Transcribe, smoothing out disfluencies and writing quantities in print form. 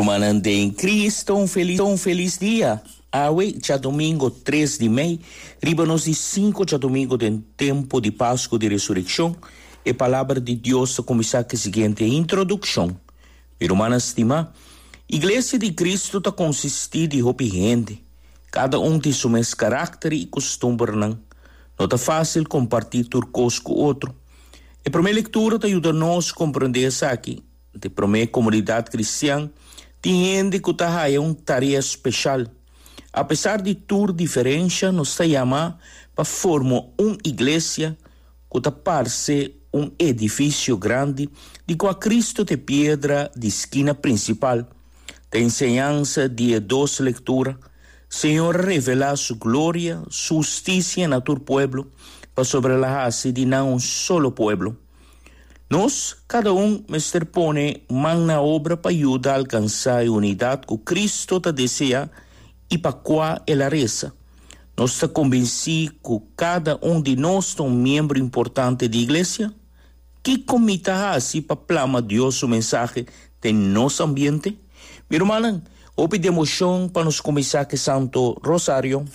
Rumannan den Cristo, un feliz, un feliz dia. Awe, djadomingo tres di mei, riba nos di sinku djadomingo den tempu di Pasku di Resurekshon, e Palabra di Dios ta kuminsá ku e siguiente introdukshon, Mi rumannan stimá, Iglesia di Cristo ta konsistí di hopi hende, kada un tin su mes karakter i kustumbernan. No ta fásil kompartí tur kos ku otro. E promé lektura ta yuda nos komprendé esaki. Den e promé komunidat kristian tin hende ku ta haya un tarea speshal. Apesar di tur diferensha nos ta yamá pa forma un iglesia ku ta parse un edifisio grandi di kua Kristu ta e piedra di skina prinsipal. Ta enseñansa di e dos lektura, Señor a revelá Su gloria, Su hustisia na tur pueblo, pasobra El a hasi di nan un solo pueblo. Nos kada un mester pone man na obra pa yuda alkansá e unidat ku Kristu ta deseá i pa kua el a resa. Nos ta kombensí ku kada un di nos ta un miembro importante di iglesia? Kiko mi ta hasi pa plama Dios su mensahe den nos ambiente? Mi rumannan, hopi demoshon pa nos kuminsá ku e Santo Rosario.